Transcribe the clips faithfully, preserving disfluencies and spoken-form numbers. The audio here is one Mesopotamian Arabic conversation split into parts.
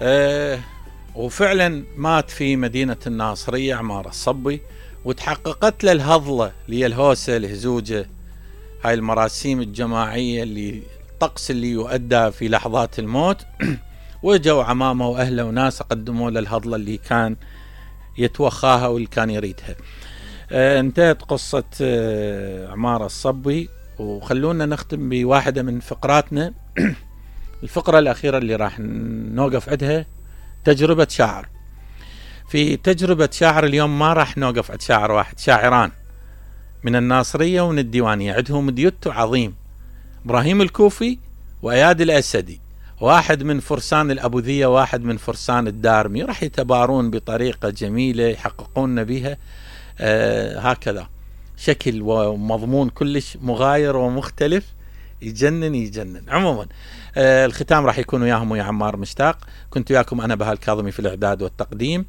أه وفعلا مات في مدينة الناصرية عمار الصبي، وتحققت له الهضلة اللي هي الهوسة الهزوجة، هاي المراسيم الجماعية اللي الطقس اللي يؤدى في لحظات الموت. وجوا عمامه وأهله وناس قدموا له الهضلة اللي كان يتوخاها واللي كان يريدها. أه انتهت قصة أه عمار الصبي، وخلونا نختم بواحدة من فقراتنا. الفقرة الأخيرة اللي راح نوقف عندها تجربة شاعر. في تجربة شاعر اليوم ما راح نوقف عند شاعر واحد، شاعران من الناصرية ومن الديوانية، عندهم ديوتو عظيم، إبراهيم الكوفي وأياد الأسدي، واحد من فرسان الأبوذية واحد من فرسان الدارمي، راح يتبارون بطريقة جميلة يحققون بها آه هكذا شكل ومضمون كلش مغاير ومختلف، يجنن يجنن. عموما آه الختام راح يكون وياهم ويا عمار مشتاق. كنت وياكم أنا بهاء الكاظمي في الإعداد والتقديم،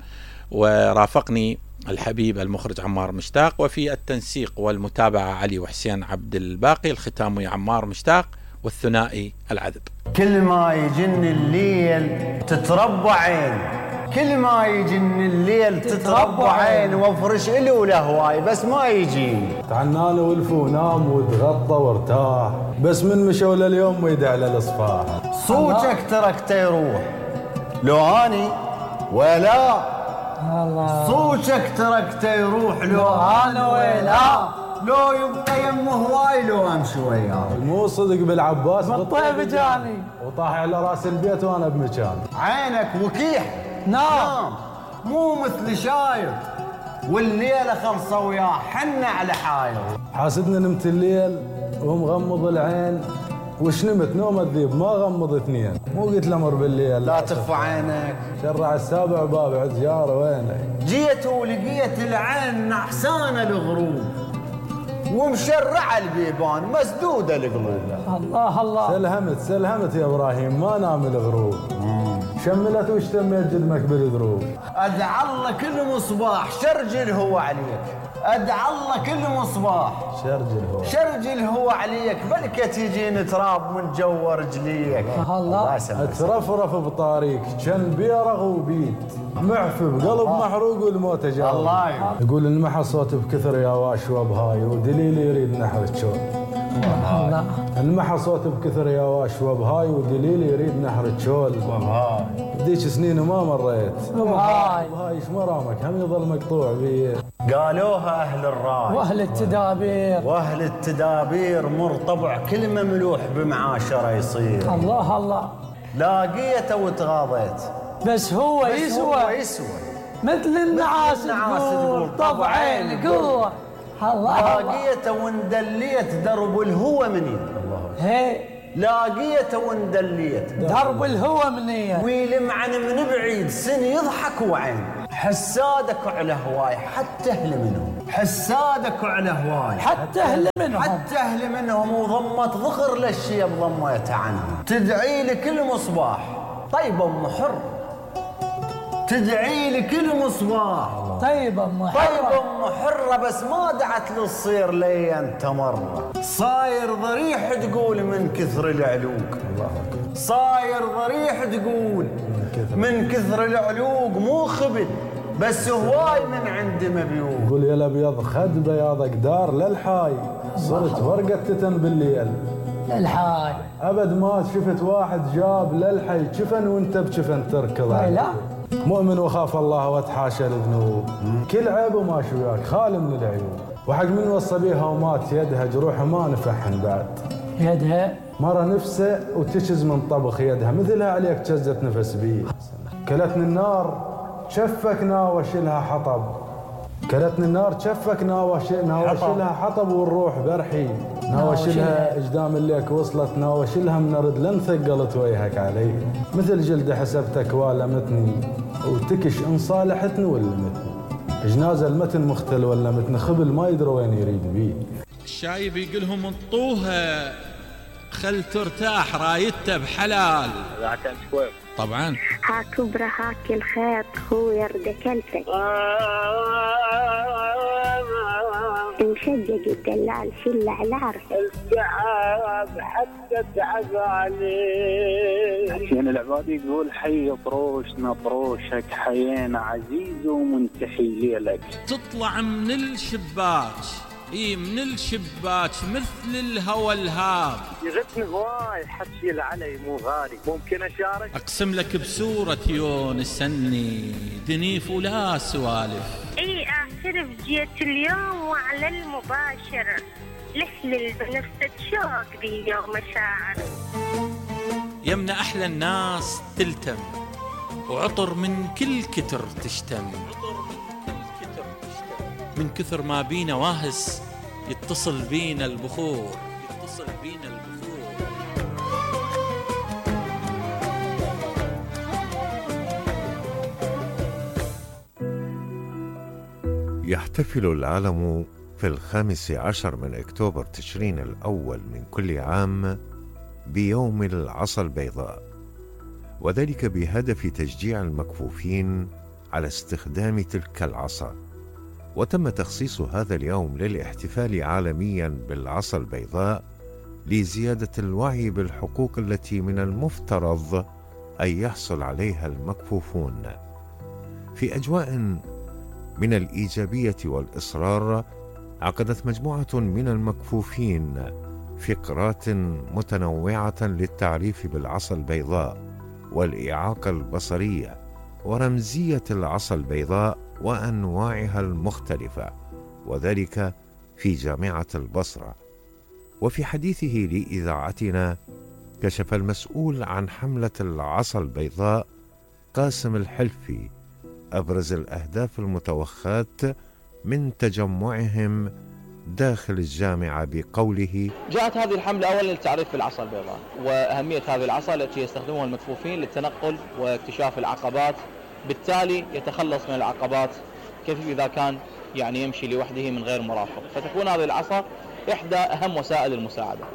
ورافقني الحبيب المخرج عمار مشتاق، وفي التنسيق والمتابعة علي وحسين عبد الباقي. الختام ويا عمار مشتاق والثنائي العذب. كل ما يجن الليل تتربى عين، كل ما يجن الليل تتربى عين، وافرش إله لهواي بس ما يجيني. تعنان ولف ونام وتغطى وارتاح، بس من مشوا لليوم ويدع للصفاح. صوتك تركته يروح لو اني ولا الله، صوتك تركته يروح لو انا ولا، لو يبقى يم هواي لو امشي وياه. مو صدق بالعباس بالطيب جاني وطاح على راس البيت وانا بمكان. عينك وكيح نام مو مثل شايط، والليله خلصه وياه حنا على حايط. حاسدنا نمت الليل ومغمض العين، وش نمت نوم الذيب ما غمض اثنين. مو قلت لمر بالليل لا تخفى عينك، شرع السابع باب عد جاره وينك. جيت ولقيت العين نعسانه الغروب، ومشرعه البيبان مسدوده القلوب. الله الله، سلهمت سلهمت يا ابراهيم ما نام الغروب، شملت واشتميت جدمك بالدروب. ادعى الله كل مصباح شرجل هو عليك، ادعى الله كل مصباح شرجل هو شرجل هو عليك، بلكة تجين تراب من جو رجليك. الله اترفرف بطاريك كان بيرغ وبيد، معفي بقلب محروق والموت جاي. الله يقول انمحى صوت بكثر يا واش وبهاي، ودليل يريد نحر الشول. الله انمحى صوت بكثر يا واش وبهاي، ودليل يريد نحر الشول. وبهاي ديك سنين وما مريت، وبهاي وبهاي ايش مرامك هم يظل مقطوع بيه. قالوها اهل الراي واهل التدابير، واهل التدابير مر طبع كل مملوح بمعاشره يصير. الله الله، لاقيته وتغاضيت بس هو بس يسوى هو يسوى مثل النعاس تقول طبعين قوة. الله لاقيته واندليت درب الهوى مني. هي لاقيته واندليت درب الهوى منيه، ويلمعن من بعيد سن يضحك وعين. حسادك على هواي حتى اهل منهم، حسادك على هواي حتى اهل منهم، حتى اهل منهم، وضمت ظهر للشيب ضميت عنهم. تدعي لكل مصباح طيب ام حر، تدعي لكل مصباح طيب ام حرة، طيب ام حرة، بس ما دعت للصير لي انت مرة. صاير ضريح تقول من كثر العلوق، صاير ضريح تقول من كثر العلوق، مو خبل بس هواي من عند مبيوق. قول يا الابيض خد بياضك دار للحاي، صرت ورقة تتن بالليل للحاي. ابد ما شفت واحد جاب للحي جفن وانت بجفن تركض. لا مؤمن وخاف الله وتحاشى الذنوب، كل عيب وماشي وياك خالي من العيوب. وحق من وصى بيها ومات يدها جروحها ما نفحن بعد. يدها مرة نفسه وتشز من طبخ يدها، مثلها عليك جزت نفس بيه. كلتني النار شفك ناوش لها حطب، كلتني النار شفك ناوش ناوش لها حطب، والروح برحي ناوش لها اجدام الليك وصلت، ناوش لها من رد لن ثقلت وجهك علي. مثل جلد حسبتك والمتني، وتكش ان صالحتني ولمتني. جنازه المتن مختل ولا متن خبل ما يدري وين يريد بيه. الشايب يقولهم انطوها خل ترتاح رايته بحلال. طبعا ها كبرى هاك الخيط هو يرد كلفك. مشجج الدلال في الإعلار التعب حتى تعب عليه. حسين العبادي يقول حي طروشنا طروشك حيينا عزيز ومنتحي ليلك. تطلع من الشباك اي من الشباك مثل الهوى الهاب. يغثني هواي حكي العلي مو غالي، ممكن اشارك؟ اقسم لك بسورة يونس اني دنيف ولا سوالف. اي اعترف جيت اليوم وعلى المباشر لحلل بنفسك شوق ذي يوم مشاعر. يمنا احلى الناس تلتم وعطر من كل كتر تشتم، من كثر ما بينا واهس يتصل بينا البخور، يتصل بينا البخور. يحتفل العالم في الخامس عشر من أكتوبر تشرين الأول من كل عام بيوم العصا البيضاء، وذلك بهدف تشجيع المكفوفين على استخدام تلك العصا. وتم تخصيص هذا اليوم للاحتفال عالميا بالعصا البيضاء لزيادة الوعي بالحقوق التي من المفترض أن يحصل عليها المكفوفون. في أجواء من الإيجابية والإصرار، عقدت مجموعة من المكفوفين فقرات متنوعة للتعريف بالعصا البيضاء والإعاقة البصرية ورمزية العصا البيضاء وأنواعها المختلفة، وذلك في جامعة البصرة. وفي حديثه لإذاعتنا كشف المسؤول عن حملة العصا البيضاء قاسم الحلفي أبرز الأهداف المتوخاة من تجمعهم داخل الجامعة بقوله: جاءت هذه الحملة أولا للتعريف بالعصا البيضاء وأهمية هذه العصا التي يستخدمها المكفوفين للتنقل واكتشاف العقبات، بالتالي يتخلص من العقبات كيف إذا كان يعني يمشي لوحده من غير مرافق، فتكون هذه العصا إحدى أهم وسائل المساعدة.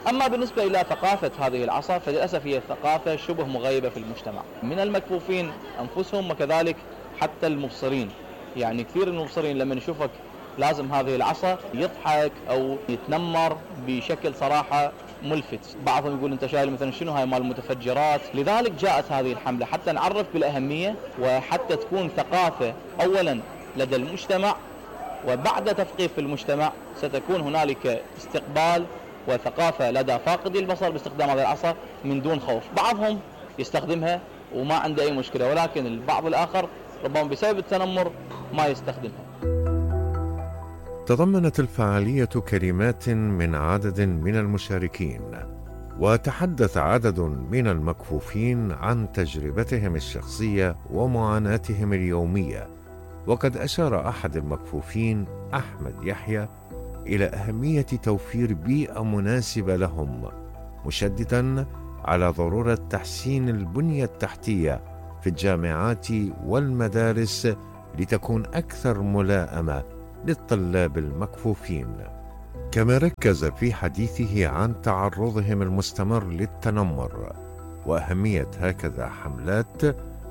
أما بالنسبة إلى ثقافة هذه العصا فللأسف هي ثقافة شبه مغيبة في المجتمع من المكفوفين أنفسهم وكذلك حتى المبصرين. يعني كثير من المبصرين لما يشوفك لازم هذه العصا يضحك أو يتنمر بشكل صراحة ملفت، بعضهم يقول أنت شايل مثلا شنو هاي مال المتفجرات. لذلك جاءت هذه الحملة حتى نعرف بالأهمية وحتى تكون ثقافة أولا لدى المجتمع، وبعد تثقيف المجتمع ستكون هنالك استقبال وثقافة لدى فاقدي البصر باستخدام هذه العصا من دون خوف. بعضهم يستخدمها وما عنده أي مشكلة، ولكن البعض الآخر ربما بسبب التنمر ما يستخدمها. تضمنت الفعالية كلمات من عدد من المشاركين، وتحدث عدد من المكفوفين عن تجربتهم الشخصية ومعاناتهم اليومية. وقد أشار أحد المكفوفين أحمد يحيى إلى أهمية توفير بيئة مناسبة لهم، مشدداً على ضرورة تحسين البنية التحتية في الجامعات والمدارس لتكون أكثر ملائمة للطلاب المكفوفين. كما ركز في حديثه عن تعرضهم المستمر للتنمر وأهمية هكذا حملات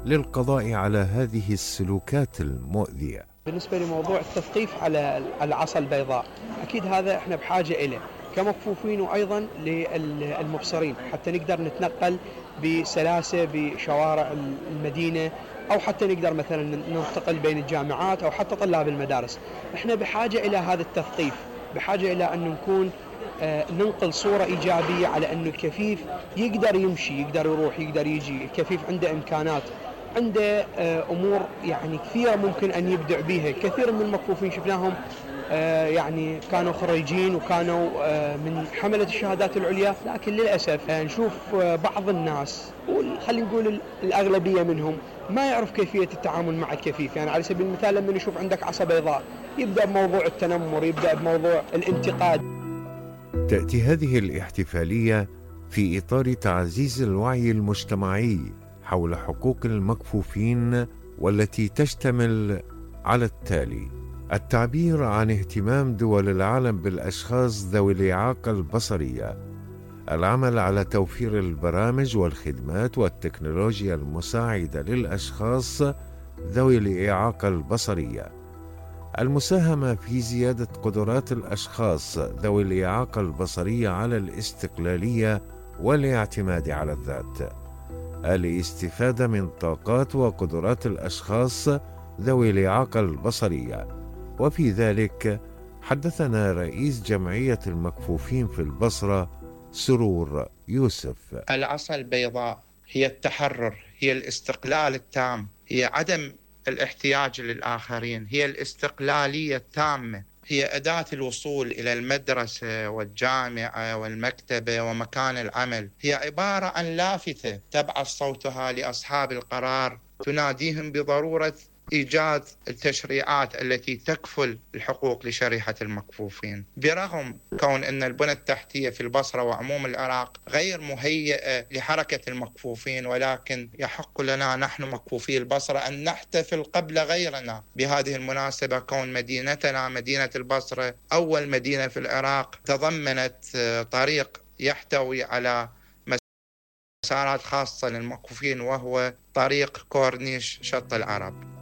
للقضاء على هذه السلوكات المؤذية. بالنسبة لموضوع التثقيف على العصا البيضاء، أكيد هذا احنا بحاجة إليه كمكفوفين وأيضا للمبصرين حتى نقدر نتنقل بسلاسة بشوارع المدينة، أو حتى نقدر مثلا ننتقل بين الجامعات أو حتى طلاب المدارس. احنا بحاجة إلى هذا التثقيف، بحاجة إلى أن نكون آه ننقل صورة إيجابية على أنه الكفيف يقدر يمشي، يقدر يروح، يقدر يجي. الكفيف عنده إمكانات، عنده آه أمور يعني كثيرة ممكن أن يبدع بها. كثير من المكفوفين شفناهم آه يعني كانوا خريجين وكانوا آه من حملة الشهادات العليا، لكن للأسف آه نشوف آه بعض الناس، خلينا نقول الأغلبية منهم، ما يعرف كيفية التعامل مع الكفيف. يعني على سبيل المثال لما نشوف عندك عصا بيضاء يبدأ بموضوع التنمر، يبدأ بموضوع الانتقاد. تأتي هذه الاحتفالية في إطار تعزيز الوعي المجتمعي حول حقوق المكفوفين، والتي تشتمل على التالي: التعبير عن اهتمام دول العالم بالأشخاص ذوي الإعاقة البصرية، العمل على توفير البرامج والخدمات والتكنولوجيا المساعدة للأشخاص ذوي الإعاقة البصرية، المساهمة في زيادة قدرات الأشخاص ذوي الإعاقة البصرية على الاستقلالية والاعتماد على الذات، الاستفادة من طاقات وقدرات الأشخاص ذوي الإعاقة البصرية. وفي ذلك حدثنا رئيس جمعية المكفوفين في البصرة سرور يوسف. العصا البيضاء هي التحرر، هي الاستقلال التام، هي عدم الاحتياج للآخرين، هي الاستقلالية التامة، هي أداة الوصول إلى المدرسة والجامعة والمكتبة ومكان العمل، هي عبارة عن لافتة تبعث صوتها لأصحاب القرار تناديهم بضرورة إيجاد التشريعات التي تكفل الحقوق لشريحة المكفوفين. برغم كون أن البنى التحتية في البصرة وعموم العراق غير مهيئة لحركة المكفوفين، ولكن يحق لنا نحن مكفوفي البصرة أن نحتفل قبل غيرنا بهذه المناسبة، كون مدينتنا مدينة البصرة أول مدينة في العراق تضمنت طريق يحتوي على مسارات خاصة للمكفوفين، وهو طريق كورنيش شط العرب.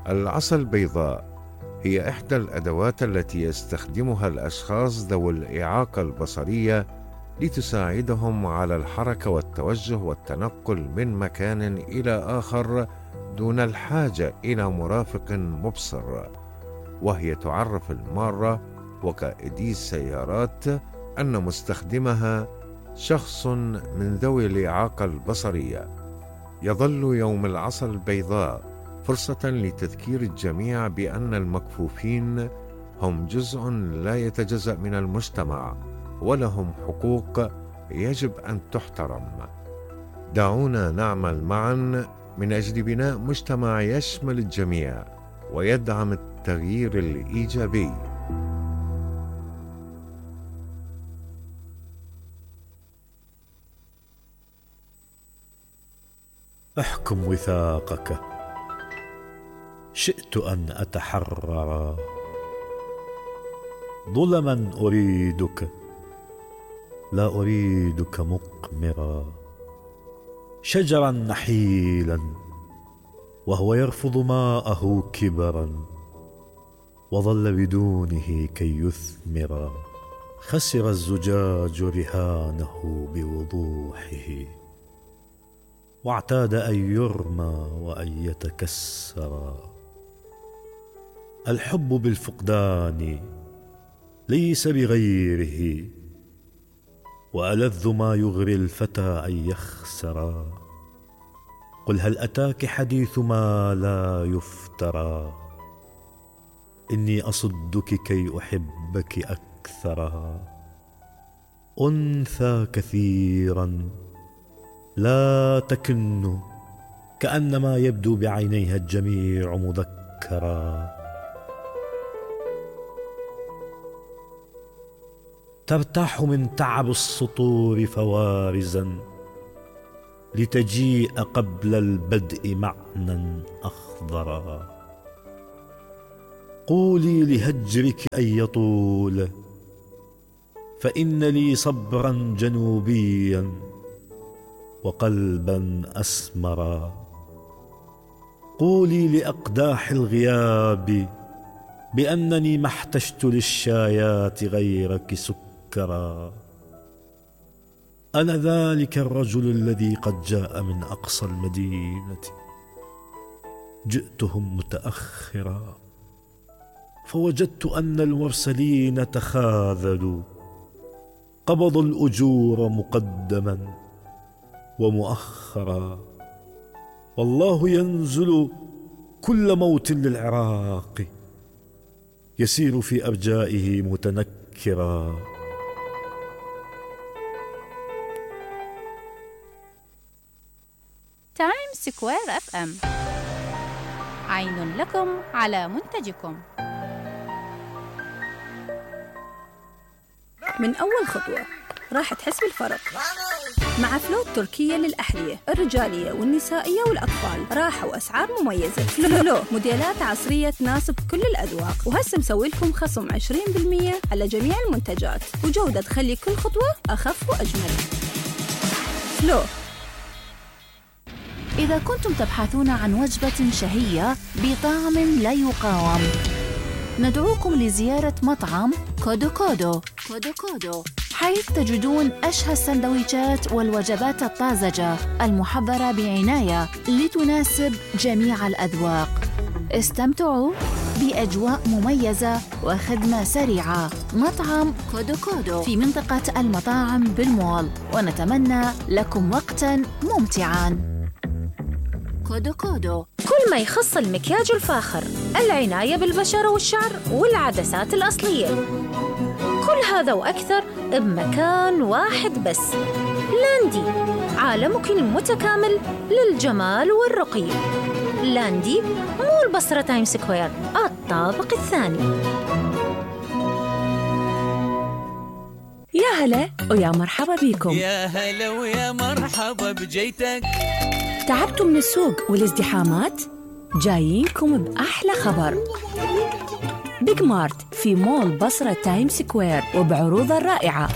العصا البيضاء هي إحدى الأدوات التي يستخدمها الأشخاص ذوي الإعاقة البصرية لتساعدهم على الحركة والتوجه والتنقل من مكان إلى آخر دون الحاجة إلى مرافق مبصر، وهي تعرف المارة وقائدي السيارات أن مستخدمها شخص من ذوي الإعاقة البصرية. يظل يوم العصا البيضاء فرصة لتذكير الجميع بأن المكفوفين هم جزء لا يتجزأ من المجتمع ولهم حقوق يجب أن تحترم. دعونا نعمل معا من أجل بناء مجتمع يشمل الجميع ويدعم التغيير الإيجابي. احكم وثاقك، شئت أن أتحرر، ظلما أريدك لا أريدك مقمرا، شجرا نحيلا وهو يرفض ماءه كبرا، وظل بدونه كي يثمر، خسر الزجاج رهانه بوضوحه، واعتاد أن يرمى وأن يتكسر. الحب بالفقدان ليس بغيره، وألذ ما يغري الفتى أن يخسر. قل هل أتاك حديث ما لا يفترى، إني أصدك كي أحبك أكثر. أنثى كثيرا لا تكن، كأنما يبدو بعينيها الجميع مذكرا. ترتاح من تعب السطور فوارزا، لتجيء قبل البدء معنى أخضرا. قولي لهجرك أن يطول، فإن لي صبرا جنوبيا وقلبا أسمرا. قولي لأقداح الغياب بأنني ما احتجت للشايات غيرك سكرا. أنا ذلك الرجل الذي قد جاء من أقصى المدينة، جئتهم متأخرا، فوجدت أن المرسلين تخاذلوا، قبضوا الأجور مقدما ومؤخرا. والله ينزل كل موت للعراق، يسير في أرجائه متنكرا. تايم سكوير اف ام، عين لكم على منتجكم. من أول خطوة راح تحس بالفرق مع فلو التركية للأحذية الرجالية والنسائية والأطفال. راحة وأسعار مميزة. فلو موديلات عصرية تناسب كل الأذواق، وهسه مسوي لكم خصم عشرين بالمئة على جميع المنتجات، وجودة تخلي كل خطوة أخف وأجمل. فلو. إذا كنتم تبحثون عن وجبة شهية بطعم لا يقاوم، ندعوكم لزيارة مطعم كودو كودو كودو كودو، حيث تجدون أشهى السندويشات والوجبات الطازجة المحضرة بعناية لتناسب جميع الأذواق. استمتعوا بأجواء مميزة وخدمة سريعة. مطعم كودو كودو في منطقة المطاعم بالمول، ونتمنى لكم وقتاً ممتعاً. كودو كودو، كل ما يخص المكياج الفاخر، العناية بالبشرة والشعر والعدسات الأصلية، كل هذا وأكثر بمكان واحد بس. لاندي، عالمك المتكامل للجمال والرقي. لاندي مو البصرة تايم سكوير، الطابق الثاني. يا هلا ويا مرحبا بيكم. يا هلا ويا مرحبا بجيتك. تعبتوا من السوق والازدحامات؟ جايينكم بأحلى خبر. بيج مارت في مول بصرة تايم سكوير وبعروضه الرائعة.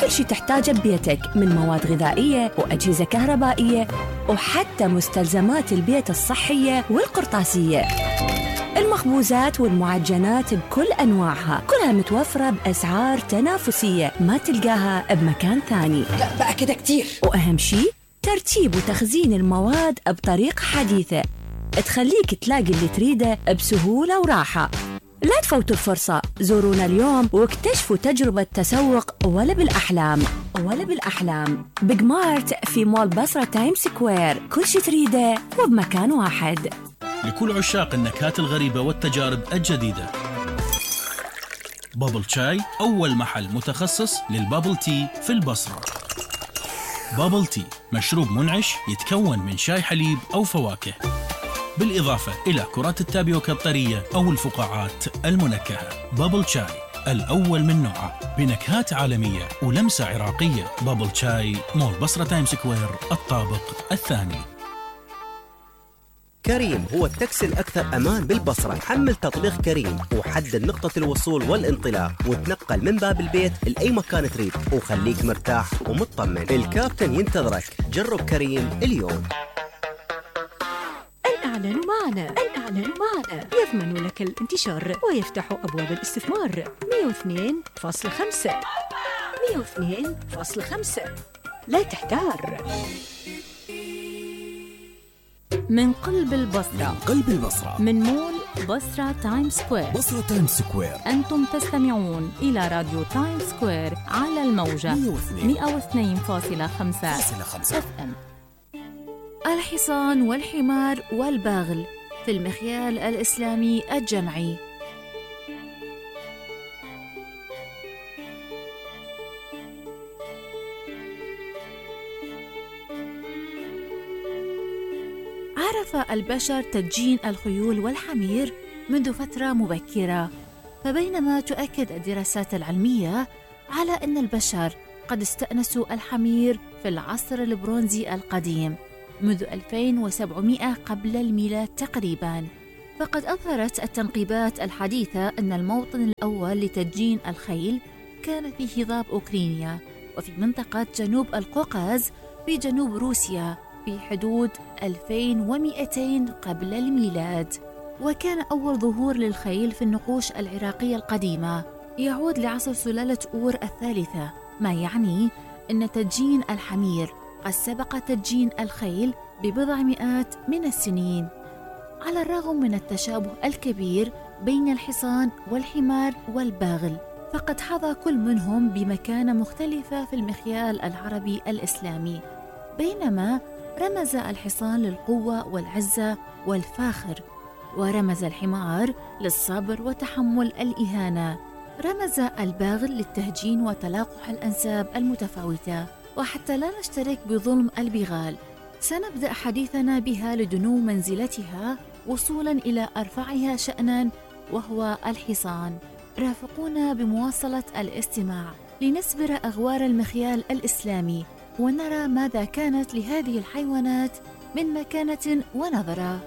كل شي تحتاجه ببيتك من مواد غذائية وأجهزة كهربائية وحتى مستلزمات البيت الصحية والقرطاسية. المخبوزات والمعجنات بكل أنواعها كلها متوفرة بأسعار تنافسية ما تلقاها بمكان ثاني. لا بقى كده كتير. وأهم شي ترتيب وتخزين المواد بطريقة حديثة تخليك تلاقي اللي تريده بسهولة وراحة. لا تفوتوا الفرصة، زورونا اليوم واكتشفوا تجربة تسوق ولا بالأحلام ولا بالأحلام. بيج مارت في مول بصرة تايم سكوير، كل شي تريده وبمكان واحد. لكل عشاق النكهات الغريبة والتجارب الجديدة، بابل شاي أول محل متخصص للبابل تي في البصرة. بابل تي مشروب منعش يتكون من شاي حليب أو فواكه، بالإضافة إلى كرات التابيوكا الطرية أو الفقاعات المنكهة. بابل شاي الأول من نوعه بنكهات عالمية ولمسة عراقية. بابل شاي، مول بصرة تايم سكوير، الطابق الثاني. كريم هو التاكسي الأكثر أمان بالبصرة. حمل تطبيق كريم وحدد نقطة الوصول والانطلاق وتنقل من باب البيت لأي مكان تريد وخليك مرتاح ومطمن. الكابتن ينتظرك. جرب كريم اليوم. الإعلان معنا الإعلان معنا يضمن لك الانتشار ويفتح أبواب الاستثمار. مئة واثنين فاصلة خمسة مئة واثنين فاصلة خمسة، لا تحتار. من قلب البصرة، من قلب البصرة، من مول بصرة تايم سكوير. بصرة تايم سكوير، أنتم تستمعون إلى راديو تايم سكوير على الموجة مئة واثنين فاصلة خمسة اف ام. الحصان والحمار والباغل في المخيال الإسلامي الجمعي. عرف البشر تدجين الخيول والحمير منذ فترة مبكرة، فبينما تؤكد الدراسات العلمية على أن البشر قد استأنسوا الحمير في العصر البرونزي القديم منذ ألفين وسبعمئة قبل الميلاد تقريباً، فقد أظهرت التنقيبات الحديثة أن الموطن الأول لتدجين الخيل كان في هضاب أوكرانيا وفي منطقة جنوب القوقاز في جنوب روسيا في حدود ألفين ومئتين قبل الميلاد. وكان أول ظهور للخيل في النقوش العراقية القديمة يعود لعصر سلالة أور الثالثة، ما يعني أن تدجين الحمير قد سبق تدجين الخيل ببضع مئات من السنين. على الرغم من التشابه الكبير بين الحصان والحمار والباغل، فقد حظى كل منهم بمكانة مختلفة في المخيال العربي الإسلامي. بينما رمز الحصان للقوة والعزة والفاخر، ورمز الحمار للصبر وتحمل الإهانة، رمز الباغل للتهجين وتلاقح الأنساب المتفاوتة. وحتى لا نشترك بظلم البغال، سنبدأ حديثنا بها لدنو منزلتها وصولا إلى أرفعها شأنا وهو الحصان. رافقونا بمواصلة الاستماع لنسبر أغوار المخيال الإسلامي ونرى ماذا كانت لهذه الحيوانات من مكانة ونظرة.